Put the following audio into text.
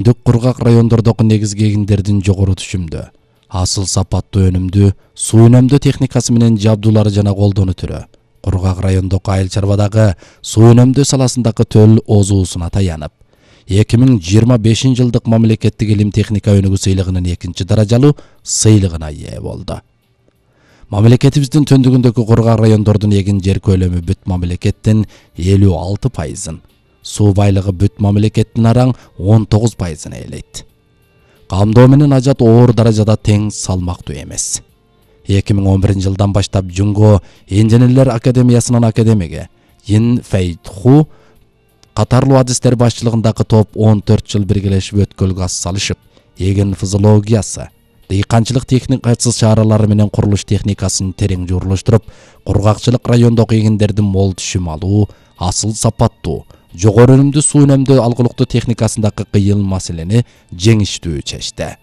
Дүк кургак райондордогу негизги эгиндердин жогору түшүмдө, асыл сапаттуу өнүмдүү, суу үнөмдөө техникасы менен жабдуулары жана колдонуу түрү кургак райондогу айыл чарбадагы суу үнөмдөө саласындагы төл озуусуна таянып, 2025-жылдык мамлекеттик илим техника өнүгүү сыйлыгынын 2-даражалуу сыйлыгына ээ болду. Мамлекетибиздин төндүгүндөгү кургак райондордун эгин жер көлөмү бүт мамлекеттин 56%, суу байлыгы бүт мамлекеттин араң 19%-ын ээлейт. Камдоо менен ажат оор даражада тең салмактуу эмес. 2011-жылдан баштап Жунго инженерлер академиясынын академиги Ин Фэйдху катарлуу адистер башчылыгындагы топ 14 жыл биргелешип өткөл газ салышып, эгин физиологиясы, дыйканчылык техникасы чаралары менен курулуш техникасын терең жуурулуштуруп, кургакчылык райондогу эгиндердин мол түшүм алуу, асыл сапаттуу, жогору өнүмдүү суу үнөмдөө алгылыктуу техникасындагы кыйын маселени жеңиштүү чечти.